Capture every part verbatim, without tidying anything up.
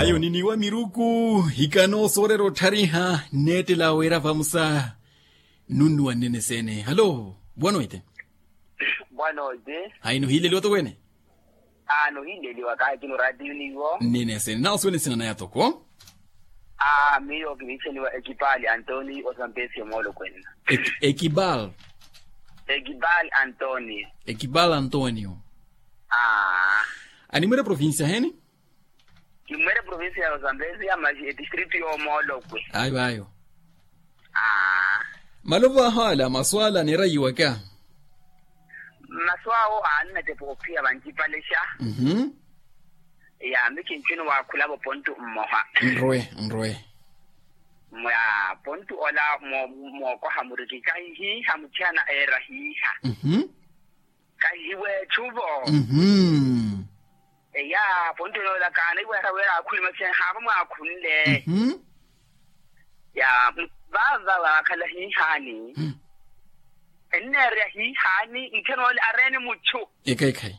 Ayo niniwa miruku. Hikano soorera otthariha nneettela wira vamusa. Nunnuwa nnene seene halo. Bwanoite. Bwanoite. Hayi nuhiileliwa toko ene. Aa nuhiileliwa kaahikini oraatiyo niwo. Nnene seene nawo suwene sina naya toko. Aa miyo kiniichaniwa ekipaali antoni osampesi omoolokwenna. Ekipaali. Ekipaali antoni. Ekipaali antoni. Aa. Animwere provincia heni? Kimmwere provincia ya osampesi ya masi etistritu yoomoolokwe. Ayo ayo. Aa. Malovo aho ala masu ala aneerayiwaka. Masu awo aannatepa ophiya vancipalexa. Mhm. Yaami kinci niwaakhulavo pontu mmoha. Nrowe nrowe. Mwa pontu ola mookoha muriki kahihiiha muthiyana eera hiiha. Mhm. Kahihiweetthuvo. Mhm. Eya pontu enoola kaana iweera weera aakhuli masi haava mwaakhunle. Mhm. Ya vaava waakhala hiihaani. Enneereya hiihaani nthenoole areene muchu. Ekhayi ekhayi.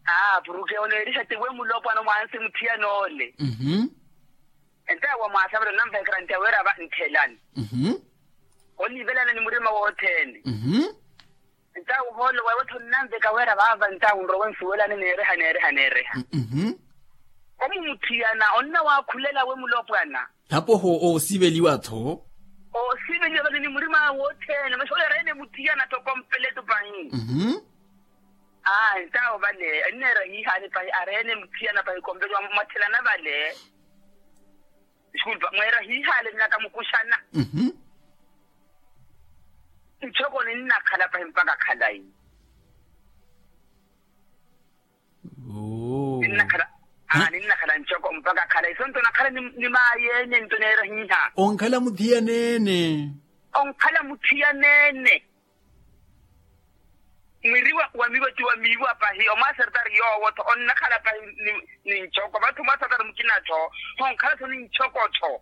Aa puruke oneeriha tiwe mulopwana mwaansi muthiyanoole. Mhm. Entawo wamwaasavela onnanvekera nti aweera va nthelani. Mhm. Onivelana ni murima wothene. Mhm. Entawo hoolo wewe-tho onnanveka weera vaava entawo nrowe nsuwelane neereha neereha neereha. Mhm. Omumuthiyana onnawakhulela we mulopwana. Hapo oho oosiveliwa-tho. Oosiveliwa vale ni murima wothene masi oyo areene muthiyana-tho kompeletu pahi. Mhm. Aa entawo vale enneera hiihaani pahi areene muthiyana pahi kompeletu mwathelana vale. Disculpa mweera hiihaale nnakamukuxana. Mhm. Nchoko ninnakhala pahi mpaka khalayi. Ninnakhala aa ninnakhala nchoko mpaka khalayi sonto nakhala ni maayeene nto neera hiiha. Onkhala muthiyaneene. Onkhala muthiyaneene. Mwiri wa miivo ti wa miivo apahi omwasertari yoowo-tho onnakhala pahi ni nchoko vathi omwasertari mukina-tho. Honkhala-tho ni nchoko-tho.